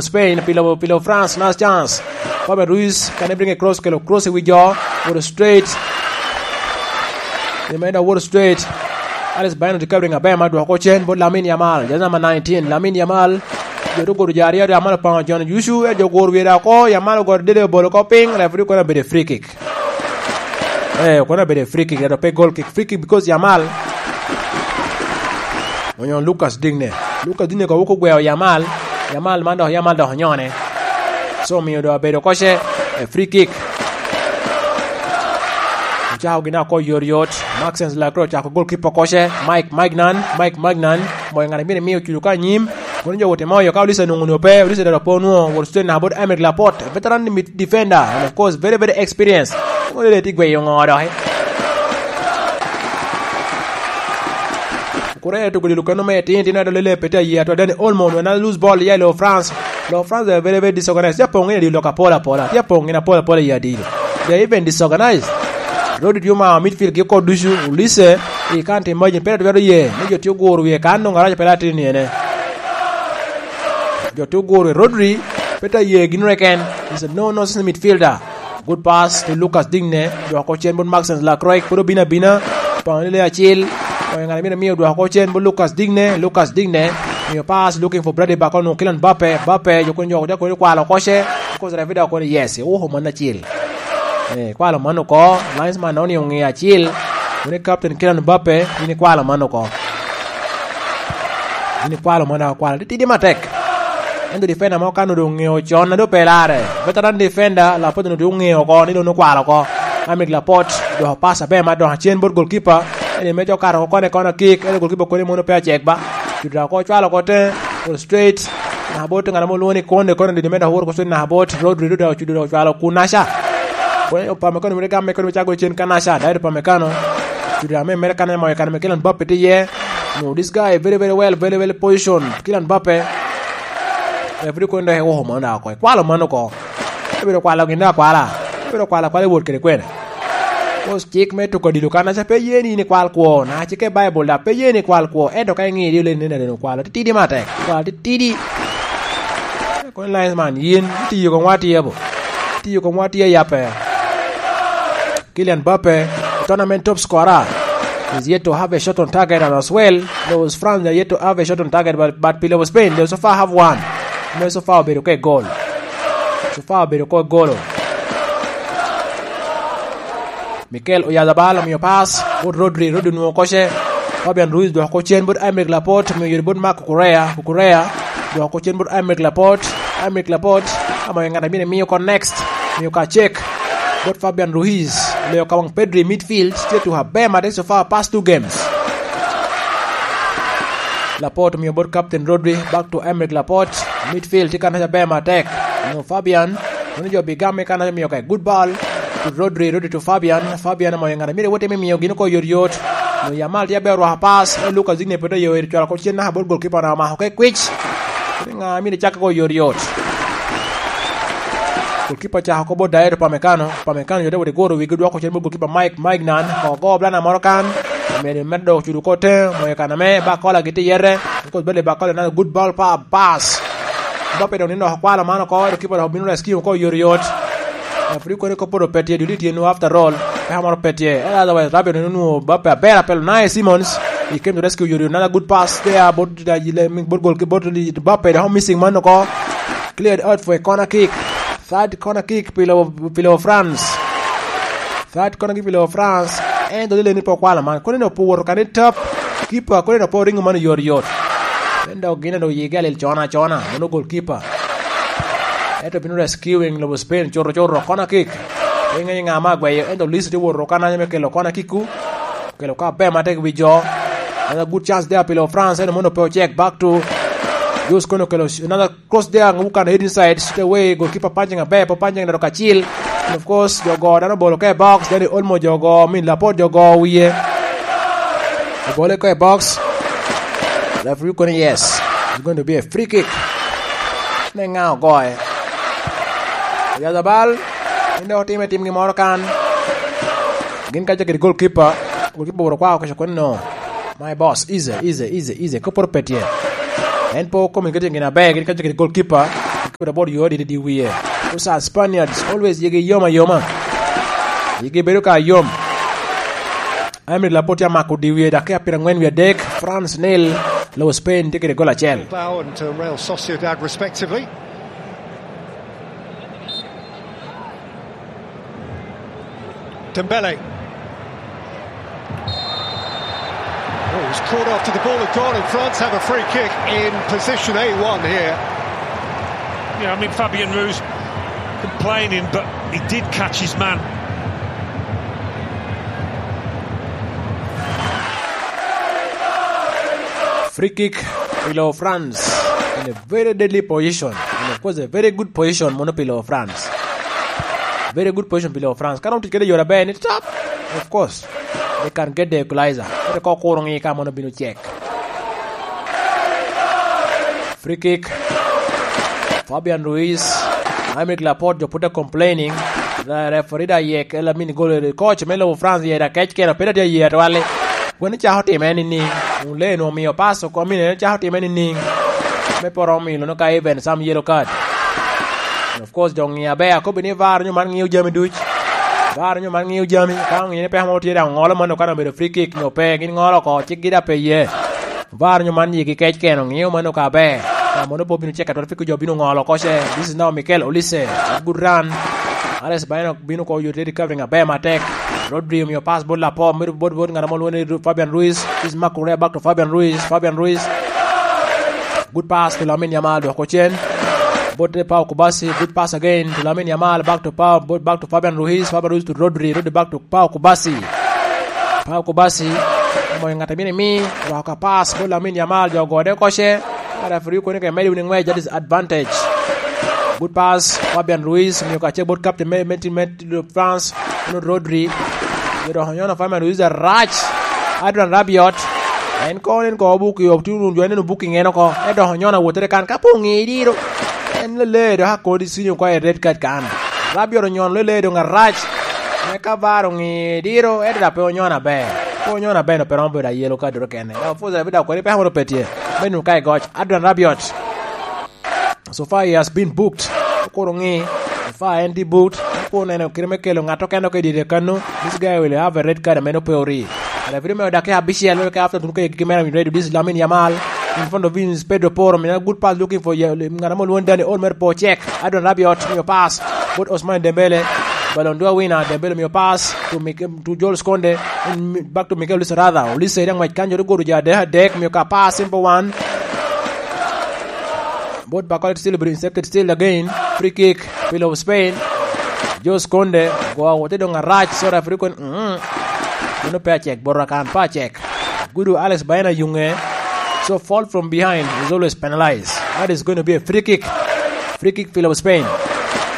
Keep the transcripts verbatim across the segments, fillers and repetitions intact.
Spain, pilo, pilo France, last chance. Fabian Ruiz, can bring a cross, kelo cross i wi jo, woto straight. Limenda woto straight. Alice Baino tye ka ring aber ma dwoko cen bot Lamine Yamal, jersey number nineteen, Lamine Yamal. Jo tye ogodo jo aryo aryo, Yamal opango John Yusu, e jo oguro wiye dok oko, Yamal ogoro dede obolo oko piny, referee kono obedo free kick. Eh, kono obedo free kick, ento pe goal kick, free kick because Yamal. Onyo Lucas Digne. Lucas Digne ko wuko gweo Yamal. Yamal man dok, Yamal dok onyone. So, omiyo dok obedo koce, eh, free kick. Ocako gin ako yot yot. Maxence Lacroix ocako goalkeeper koce. Mike Magnan, Mike Magnan. Moyo ngat a myero imiyo cudo ka anyim. Kono jo wote moyo ka Olise nwoŋo nwoŋo pe, Olise dok po nwoŋo, woto cen naka bot Aymeric Laporte, veteran mid-, defender, and of course, very, very experienced. Kono lele tye gweyo ŋo doki. Kureya tugo dilo kano me tin tin ado lele pete aye atwa Dani Olmo nwe na lose ball ya lo France. Lo France are very, very disorganized. Ya pong in adilo ka pola pola. Ya pong in apola pola ya dilo. They are even disorganized. Rodri tye omao midfield gi kor ducu, Olise i kan to imagine, pe twero ye ni jo tye oguro wie kan nwoŋo arac pe latin ni ene. Jo tye oguro Rodri, pe ta ye gin reken. He's a no-nonsense midfielder. Good pass to Lucas Digne, dwoko cen bot Maxence Lacroix, pwod obino abina. Pangone le acil, oyo ŋat a myero miyo dwoko cen bot Lucas Digne, Lucas Digne. Miyo pass, looking for Bradley Barcola, Kylian Mbappe, Mbappe, jo kun jo, jo kun kwalo koce, because referee dok kono, yes, oho, man acil. Eh, kwalo man oko, linesman na onio ŋe acil, wene captain Kylian Mbappe, in ikwalo man oko. In ikwalo man oko, kwalo titidi matek. Ento defender mo kan onwoŋo doŋ ŋeo con, a doŋ pe larre. Veteran defender, Laporte onwoŋo doŋ ŋeo oko, ni doŋ okwalo oko. Aymeric Laporte, dwoko pass aber ma dok acen bot goalkeeper. Eni me jo kato oko kone kona kick, ento goalkeeper koni mono pe acek ba. Juda oko cwalo oko te, ol straight. Naka bot ŋat amo lwongo ni Konde, Konde didi me dok woro ko cwalo naka bot Rodri, Rodri ocudo dok ocwalo Kunaca. Kone Upamecano mere gamme koni me cako cen Kanaca, Dayot Upamecano. Juda me mere kane moyo kane me Kylian Mbappe tye iye. No, this guy very, very well, very, very position. Kylian Mbappe. Referee koni dok ewoko mano dok oko. Ikwalo mano oko. Ebedo kwalo gin dok akwala. Ebedo kwalo akwala i wot kede kwene. Kos cik me tuko odilo kan aca pe ye ni in ikwal kwo, na cik i Baibul dok pe ye ni ikwal kwo, ento ka iŋiyo i odilo ni nene okwalo titidi matek, okwalo titidi. Kono linesman, yin itiyo koŋ wati abo. Itiyo koŋ wati ayape. Kylian Mbappe, tournament top scorer, is yet to have a shot on target, and as well, those France are yet to have a shot on target, but, but Pile of Spain, they so far have one. Me so far obedo ke goal. So far obedo ko golo. Mikel Oyarzabal omiyo pass bot Rodri, Rodri onwoŋo koce. Fabian Ruiz dwoko cen bot Aymeric Laporte, omiyo yore bot Marc Cucurella, Cucurella dwoko cen bot Aymeric Laporte, Aymeric Laporte, amo ŋat a myero emiyo oko next, miyo ka cek bot Fabian Ruiz, leyo ka waŋ Pedri midfield, tye tuko aber matek so far past two games. Laporte omiyo bot Captain Rodri, back to Aymeric Laporte, midfield tye kanaca aber matek, onwoŋo Fabian, kono jo bigam i kanaca omiyo ka good ball to Rodri, Rodri to Fabian, Fabian omoyo ŋat a myero ewot i me miyo gin oko yot yot. Onwoŋo Yamal tye aber orwako pass, e Lucas Digne pwod oyo eri cwalo oko cen naka bot goalkeeper na omako ke kwic. Ni ŋa a myero ecak oko yot yot. Goalkeeper ocako oko bot Dayot Upamecano, Upamecano yot ewot eguro wigi dwoko cen bot goalkeeper Mike, Mike nan, ko go blana moro kan, omedo, medo dok ocudo oko te, omoyo kan ame, Barcola gitye yete, because Bradley Barcola nano good ball pa, pass. Mbappe dok nino oko kwalo man oko, ento keeper dok obino rescue oko yot yot. Referee kono kop pwod opet tye, dul tye nwo after all. Peka moro pe tye. Ento otherwise, Rabiot onwoŋo Mbappe aber apel, Unai Simons. He came to rescue yot yot, another good pass there, bot, bot gol, bot Mbappe, dok missing man oko. Cleared out for a corner kick. Third corner kick, Pile, Pile of France. Third corner kick, Pile of France. Ento lele ni pe okwalo man. Kono ni opo woto kane tap. Keeper, kono ni opo ringo man yot yot. En dok gin dok yigi alil cona cona. Mono goalkeeper. Ento bino rescuing lobo Spain, cuto cuto, corner kick. Pe iŋeyo ŋa ma agweyo, ento Olise tye woto kananya me kelo corner kick-ku. Kelo ka aber matek i wi jo. Another good chance there, Pile of France, ento mono pe ocek, back to Jus kono kelo another cross there, Ngukan head inside, straight away, goalkeeper punching aber, po punching dok acil. And of course, jo go dano obolo ka i box, Dani Olmo jo go, I mean, Laporte jo go wiye. Obole ka i box. Referee kono yes. It's going to be a free kick. Ne ŋa ogoye. Oyarzabal, gin dok otime timgi moro kan. Gin kaca kede goalkeeper, goalkeeper woro kwao keco kono no. My boss, easy, easy, easy, easy. Koporo pe tye. En po communicating gin aber, gin kaca kede goalkeeper. Kede bot yo didi di wie. Osa Spaniards always yigi yom ayoma. Yigi bedo ka yom. Emily Laporte amako di wie, dakika pyerangwen wie adek. France nil, lobo Spain tye kede gol acel. Bilbao and, uh, Real Sociedad, respectively. Dembele. Oh, he's caught after the ball had gone, and France have a free kick in position A one here. Yeah, I mean, Fabian Ruiz complaining, but he did catch his man. Free kick below France in a very deadly position. And of course, a very good position mono below France. Very good position below France. Ka romo tic kede yore aber ni top. Of course, they can get the equalizer. Kete ko kuro ngi ka mono bino check. Free kick. Fabian Ruiz. Aymeric Laporte, jo put a complaining. The referee da yek, ela mini gol, coach me lobo France yek da kec keno, pe da tye ye atwali. Gweno cako time ni ni, wun le nu omiyo pass oko, mine cako time ni ni. Me poro omiyo lono ka even some yellow card. And of course, jo ngi aber, akobi ni var nyo man ngiyo jami duc. Var nyo man ngiyo jami, ka ongiyo ni peko mo tye da ongolo mano ka obedo free kick nyo pe, gin ngolo oko, cik gi da pe ye. Var nyo man yigi kec keno, ngiyo mano ka aber. Ka mono po bino check atwal, fiko jo bino ngolo oko ce. This is now Mikel Olise. Good run. Alex Baena bino ko yote recovery aber matek. Rodri omiyo pass bot Lapo, middle bot, bot ngat mo lwongo ni Fabian Ruiz. This is Marc Correa back to Fabian Ruiz. Fabian Ruiz. Good pass to Lamine Yamal, dwoko cen. Bot Pau Kubasi, good pass again to Lamine Yamal, back to Pau, bot, back to Fabian Ruiz. Fabian Ruiz to Rodri, Rodri back to Pau Kubasi. Pau Kubasi, omoyo ŋat a myero imi, dwoko ka pass bot Lamine Yamal, jo ogode oko ce. Referee kono ke medi wini ngwec, that is advantage. Good pass, Fabian Ruiz, miyo ka ce bot captain me, me team me France, kono Rodri. Yo dok onyono Fabian Ruiz arac. Adrian Rabiot. En kono en ko obuki, ok tye wunu jo en eno booking en oko. En dok onyono awottere kan, ka pe oŋe diro. En lele dok akodi sinyo kwa i red card kan. Rabiot onyono lele dong arac. Me ka var oŋe diro, en dok pe onyono aber. Pe onyono aber, no pe romo bedo a yellow card doro kene. Dok fuza bi dok kwede pe amoro pe tye. Me nu ka i goc. Adrian Rabiot. So far he has been booked. Okuro ŋi. So far en tye booked. Okuro neno kite me kelo ŋat okene oko i dye kano. This guy will have a red card, ameno pe ori. Referee me odake abicel, me ke after tuno ke gigi mera, ready, this is Lamine Yamal. In front of him is Pedro Porro. Mina good pass looking for ye-, ŋat mo lwongo Dani Olmo, po check. Adrian Rabiot, miyo pass. Bot Ousmane Dembele. Ballon d'Or winner, Dembele miyo pass to Mik-, to Jules Kounde. In mi-, back to Mikel Olise rather. Olise iri aŋwec kanyo, rigoro ja adek, adek, miyo ka pass, simple one. Bot Bakol still, obedo intercepted still again. Free kick, Pillow of Spain. Jules Kounde, go awote dong arac, so referee kon, mm. Mano pe acek, bot Rakan pe acek. Gudu Alex Baena yuŋe. So fall from behind is always penalized. That is going to be a free kick. Free kick, Pillow of Spain.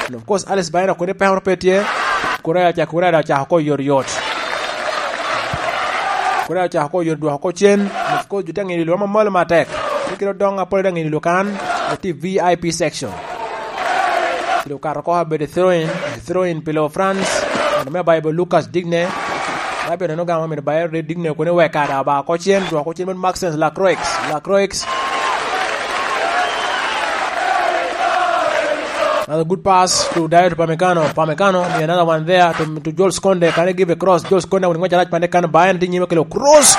And of course, Alex Baena kodi pekoro pe tye. Correa ca, Correa da ocako ko yot yot. Kodi ocako ko yot dwoko ko cen. Of course, ju te ŋino lwak mamalo matek. Ni kite odong apol te ŋino lwak kan. Oti V I P section. Kite okato ko abedo throw in, throw in Pillow France. Ŋat me Bible Lucas Digne. Bible neno gamo mito bayo Digne kuni weka da ba ko cen, dwoko ko cen bot Maxence Lacroix. Lacroix. Another good pass to Dayot Upamecano. Upamecano, another one there to, to Jules Kounde. Can he give a cross? Jules Kounde, when he went right, Pande can buy and nyime kelo cross.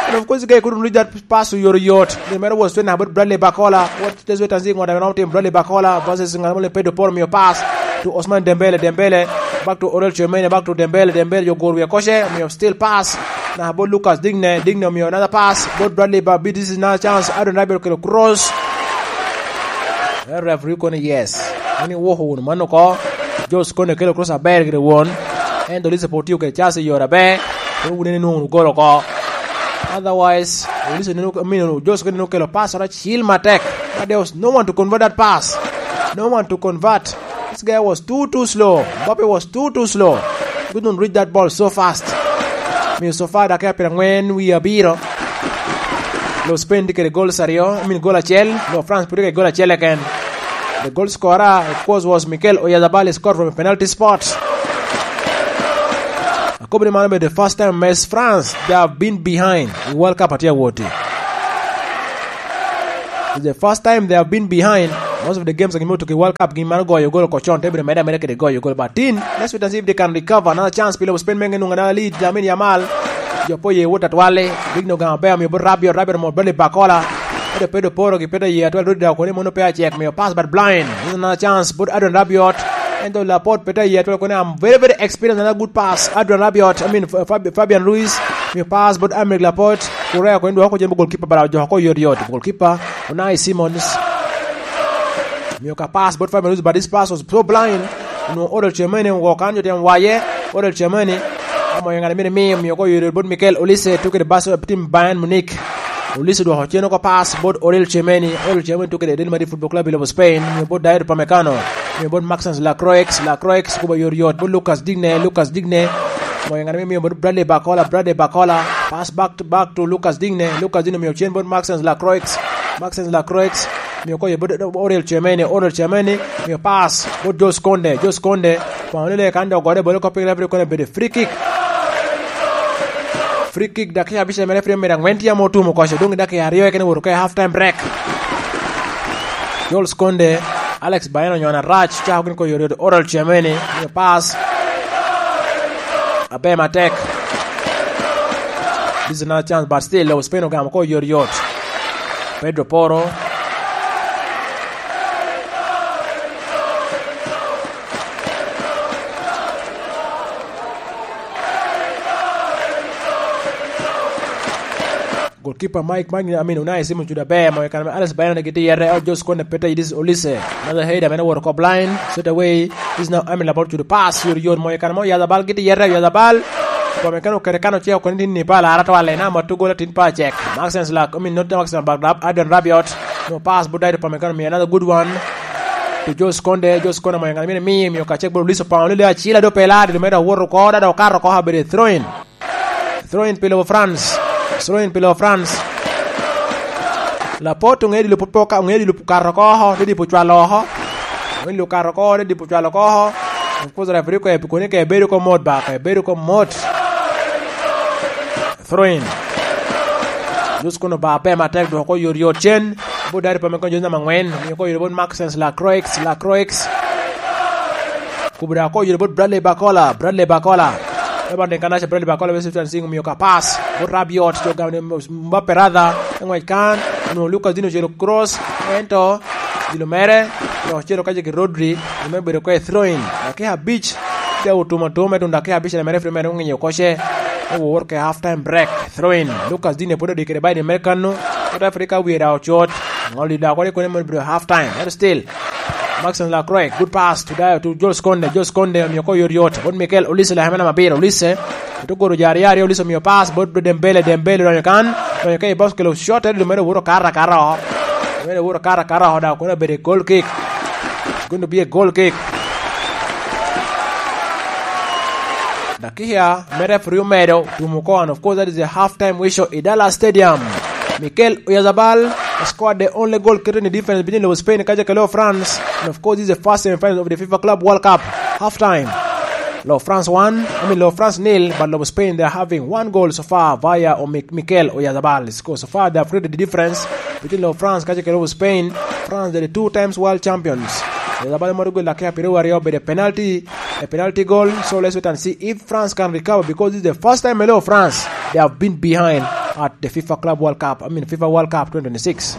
And of course, guy couldn't reach that pass to Yoro Yot. The matter was twenty about Bradley Bacola. What does it and see what I want him? Bradley Bacola versus Ngamole Pedro Porro, miyo pass to Ousmane Dembele. Dembele back to Aurel Tchouameni, back to Dembele. Dembele, you go, we are koshe, miyo still pass. Na bo Lucas Digne, Digne miyo another pass. Bot Bradley Babi, this is another chance. Adrian Rabiot kelo cross. Eh, referee kono yes. Mani woko wunu mano ko. Jules Kounde kelo cross aber gire won. Ento Olise pe otiyo kede chance i yore aber. Kono wun ene nwoŋo wunu golo ko. Otherwise, Olise neno, I mean, Jules Kounde neno kelo pass ora cil matek. But there was no one to convert that pass. No one to convert. This guy was too, too slow. Mbappe was too, too slow. Couldn't reach that ball so fast. Miyo so far dakika pyerangwen wie abiro. Lo Spain tye kede goals aryo, I mean goal acel. Lo France pud tye kede goal acel keken. The goal scorer, of course, was Mikel Oyarzabal, scored from a penalty spot. Akobo ni mano obedo the first time as France they have been behind in World Cup atye awoti. It's the first time they have been behind Most of the games gin me otuki World Cup gin maro goyo gol oko con, te bedo mere ameda kede goyo gol. But tin, let's wait and see if they can recover. Another chance pi lobo Spain menge nungo another lead, Lamine Yamal. Jo po ye wot atwale, big no gamo bea, miyo bot Rabiot, Rabiot mo Bradley Bacola. Pedro, Pedro Poro gi Pedro ye atwal, Rodri daw koni mono pe acek, miyo pass but blind. This is another chance, but Adrian Rabiot. Ento Laporte Pedro ye atwal koni, I'm very, very experienced, another good pass. Adrian Rabiot, I mean, Fab-, Fabian Ruiz, miyo pass but Aymeric Laporte. Correa koni dwoko ko jen bo goalkeeper, bara jo ko yot yot. Goalkeeper, Unai Simons. Miyo ka pass bot Fabian Ruiz, but this pass was so blind. Onwoŋo Oriol Tchouameni ogo kan, jo tyen waye. Oriol Tchouameni, amo ŋat a myero imi, miyo ko yot bot Mikel Olise, tuke de bas tim Bayern Munich. Olise dwoko cen oko pass bot Oriol Tchouameni. Oriol Tchouameni tuke de Real Madrid Football Club i lobo Spain. Miyo bot Dayot Upamecano. Miyo bot Maxence Lacroix. Lacroix kuba yot yot bot Lucas Digne. Lucas Digne, amo ŋat a myero imi bot Bradley Bacola. Bradley Bacola, pass back to, back to Lucas Digne. Lucas Digne miyo cen bot Maxence Lacroix. Maxence Lacroix, miyo ko ye bot Oriol Tchouameni, Oriol Tchouameni, miyo pass bot Jules Kounde, Jules Kounde, kwano lele kan dok gore bolo koppi referee kono bedo free kick. Free kick, dakika abicel mere free mere angwen tye ame otumo koco, dong dakika aryo kene woto ka half time break. Jules Kounde, Alex Baena onyono arac, cako gin ko yot yot, Oriol Tchouameni, miyo pass. Aber matek. This is another chance, but still, Spain ogamo ko yot yot. Pedro Poro. Goalkeeper Mike, Mike, I mean, Unai Simon cudo aber, mo i kan Alex Baena gitye yete, out Jules Kounde pete, this is Olise. Another header, mene owoto oko blind, straight away. This is now Aymeric Laporte cudo pass, yot yot, mo i kan mo, Oyarzabal gitye yete, Oyarzabal. Upamecano okete kan ocek oko ni tin ni pa alara twale, na ma tugola tin pa acek. Maxence Lac-, I mean, not Maxence Lac-, Adrian Rabiot. No pass, but Dayot Upamecano, me another good one. To Jules Kounde, Jules Kounde mo i kan, mene mi, miyo ka cek bot Olise, pao lele acila do pela, di lumeda owoto oko, dada okato oko, habere throw in. Throw in pi lobo France. Throw in pi lobo France. Laporte oŋeo dilo put poka, oŋeo dilo kato oko oko, te dipo cwalo oko. Oŋeo dilo kato oko, te dipo cwalo oko oko. Of course, referee ko epikoni ka ebedo ko mot ba, ka ebedo ko mot. Throw in. Jules Kounde oba pe matek, dwoko yot yot cen. Bot Dayot Upamecano, jezi namba angwen, miyo ko yot bot Maxence Lacroix, Lacroix. Kubo da ko yot bot Bradley Bacola, Bradley Bacola. Urban Encarnacion, Bradley Bacola, West African Sing, omiyo ka pass bot Rabiot, jo gamne Mbappe rather, te ngwec kan, onwoŋo Lucas Digne ocelo cross, ento dilo mere, dok ocelo kaca ki Rodri, me bedo ko i throw in. Dakika abic, te otumo atum, me tuŋ dakika abic mere, mere oŋinyo koce, me wowot ke half time break, throw in. Lucas Digne pwod odikere ba i dye mere kano, South Africa wie da ocot, ŋol di da kodi kone me bedo half time, ento still, Maxence Lacroix, good pass to Dayot, to Jules Kounde, Jules Kounde omiyo ko yot yot, bot Mikel Olise, lakeme namba abiro, Olise, oto goro jo aryo aryo, Olise omiyo pass bot Dembele, Dembele odonyo kan, odonyo ka i box kelo shot, ento mere owoto kara kara oko, mere owoto kara kara oko, dok kono obedo i goal kick, kono obye goal kick. Dakika mere referee omedo tumo oko, and of course that is a half time whistle i Dallas Stadium. Mikel Oyarzabal scored the only goal created in the defense between lobo Spain kaca ke lobo France. And of course, this is the first semi-final of the FIFA Club World Cup. Half time. Lobo France one, I mean, lobo France nil, but lobo Spain, they are having one goal so far via Omi-, Mikel Oyarzabal. So far, they have created the difference between lobo France kaca ke lobo Spain. France, they're the two times world champions. Oyarzabal moro gol dakika piero aryo, obedo penalty, a penalty goal. So let's wait and see if France can recover, because this is the first time in France they have been behind at the FIFA Club World Cup, I mean, FIFA World Cup twenty twenty-six.